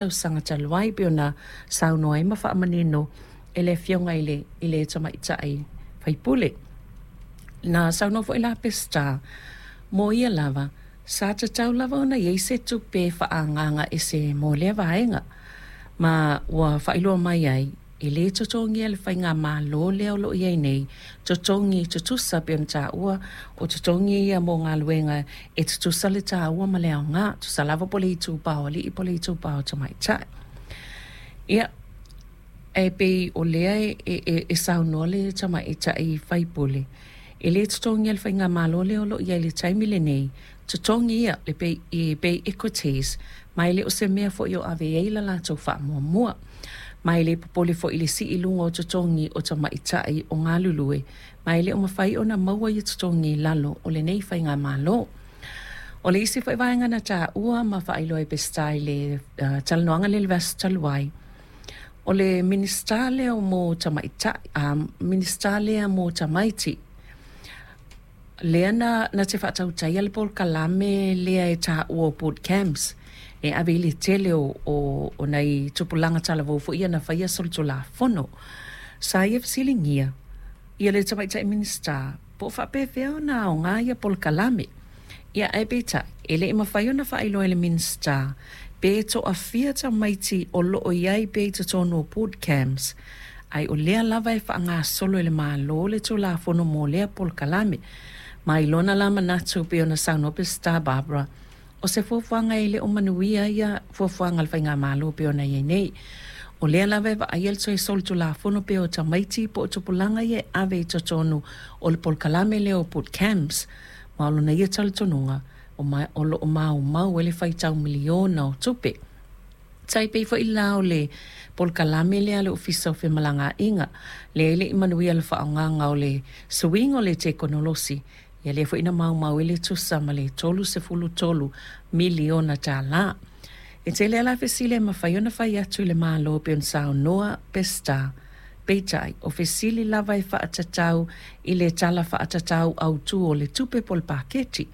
Tausaga talu ai pei ona saunoa ai ma faamanino e le Afioga i le Tamaitai Sui Usufono. Na saunoa foi la Peseta mo ia lava sa tatau lava ona i ai se tupe faaagaaga ese mo lea vaega, ma ua faailoa mai ai e le totogia e le Faigamalo lea o lo o i ai nei totogi tutusa pei ona taua o totogi ia mo galuega e tutusa le taua ma le aoga, tusa lava po o le itupa o alii po o le itupa o tamaitai. Ia, ae pei o lea e saunoa le Tamaitai Sui Usufono e le totogia e le Faigamalo lea o lo o i ai i le taimi lenei totogi ia le pay equities, ma e le o se mea foi o ave i ai le latou faamuamua. Ma e le popole foi i le sii i luga o totogi o tamaitai o galulue, ma e le o mafai ona maua ia totogi i lalo o lenei Faigamalo. O le isi foi vaega na taua ma faailoa e Peseta i le talanoaga lea i le vaiaso talu ai, o le Minisita lea mo Tamaitai, Minisita lea mo Tamaiti lea na te faatautaia le polokalame lea e taua o boot camps e ave i ai le tele o nai tupulaga talavou foi ia na faia solitulafono. Sa ia fesiligia le Tamaitai Minisita po o faapefea ona aoga ia polokalame. Ia ae peitai e le i mafai ona faailoa e le Minisita pe toafia tamaiti o lo o i ai pea i totonu o boot camps, ae o lea lava e faagasolo e le Malo le Tulafono mo lea polokalame. Ma i lona la manatu pei ona saunoa Peseta Barbara, o se fuafuaga e le o manuia ia fuafuaga a le Faigamalo pei ona i ai nei. O lea lava e vaaia le toe solitulafono pea o tamaiti po o tupulaga ia e ave i totonu o le polokalame lea o boot camps, ma o lona ia talitonuga o lo o maumau ai le faitau miliona o tupe. Tai pei foi la o le polokalame lea a le Ofisa o Femalagaaiga, lea e le i manuia le faaaogaga o le suiga o le tekonolosi, ia lea foi na maumau ai le tusa ma le $33 miliona tala. E tele lava la fesili e mafai ona fai atu i le Malo pei ona saunoa Peseta, peitai o fesili lava e faatatau i le Tala Faatatau Autu o le Tupe po o le Paketi,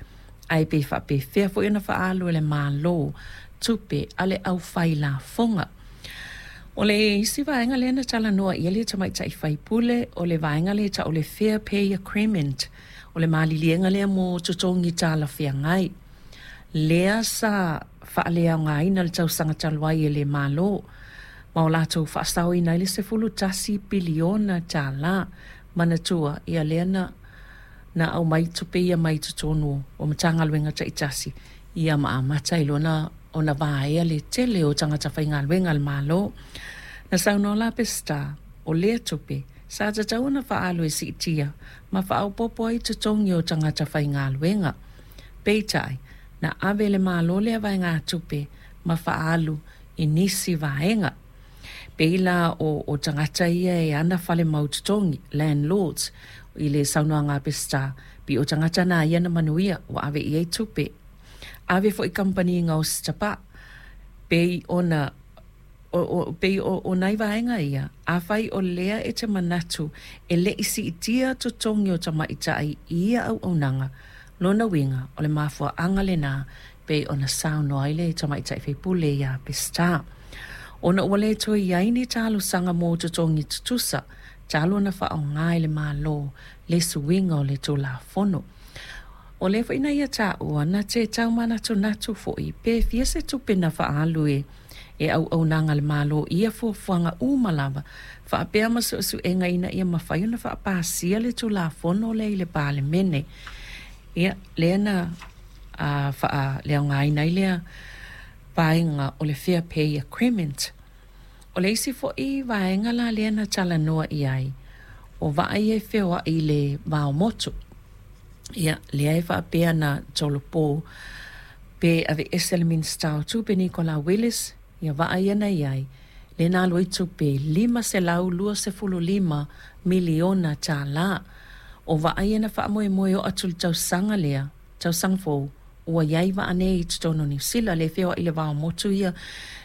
ae pe faapefea foi ona faaalu e le Malo tupe a le aufai lafoga. O le isi vaega lea na talanoa i ai le Tamaitai Sui Usufono o le vaega lea e tau o le Fair Pay Agreement, o le maliliega lea mo totogi talafeagai lea sa faaleaogaina i le tausaga talu ai e le Malo ma o latou faasaoina ai le $11 piliona. Manatua ia lea na aumai tupe ia mai totonu o Matagaluega taitasi ia ma amata ai loa ona vaea le tele o tagata faigaluega a le Malo. Na saunoa la Peseta o lea tupe sa tatau ona faaalu e siitia ma faaopoopo ai totogi o tagata faigaluega. Peitai, na ave e le Malo lea vaegatupe ma faaalu i nisi vaega. Pei la o tagata ia e ana fale mau totogi, landlords, i le saunoaga a Peseta, pei o tagata na ia na manuia ua ave i ai tupe. Ave foi i kamupani gaosi tapaa, pei ona pei o nai vaega ia, afai o lea e te manatu e le i siitia totogi o tamaitai i ia auaunaga, lona uiga o le mafuaaga lena pei ona saunoa ai le Tamaitai Sui Usufono ia Peseta. Ona ua le toe i ai ni talosaga mo totogi tutusa talu ona faaaoga e le Malo le suiga o le Tulafono. O lea foi na ia taua na te tau manatunatu foi pe fia se tupe na faaalu e auaunaga a le Malo i ia fuafuaga uma lava faapea ma suesuega ina ia mafai ona faapasia le Tulafono lea i le Palemene. Ia, lea na faaleaogaina ai lea vaega o le Fair Pay Agreement. O le isi foi vaega la lea na talanoa i ai, o vaa ia e feoai i le va o motu. Ia, lea e faapea na tolopo pe aveese e le Minisita o Tupe Nikola Willis ia vaa ia na i ai, lea na alu ai tupe e $525 miliona. O vaa ia na faamoemoe e oo atu i le tausaga lea, tausaga fou, ua i ai vaa nei i totonu o Niu Sila, lea e feoai i le va o motu ia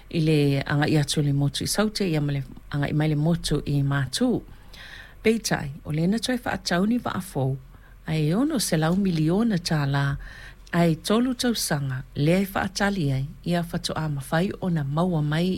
i le agai atu i le motu i Saute ia ma le agai mai le motu i Matu. Peitai, o lea na toe faatau ni vaa fou ae $600 miliona ae 3 tausaga lea e faatali ai ia faatoa mafai ona maua mai.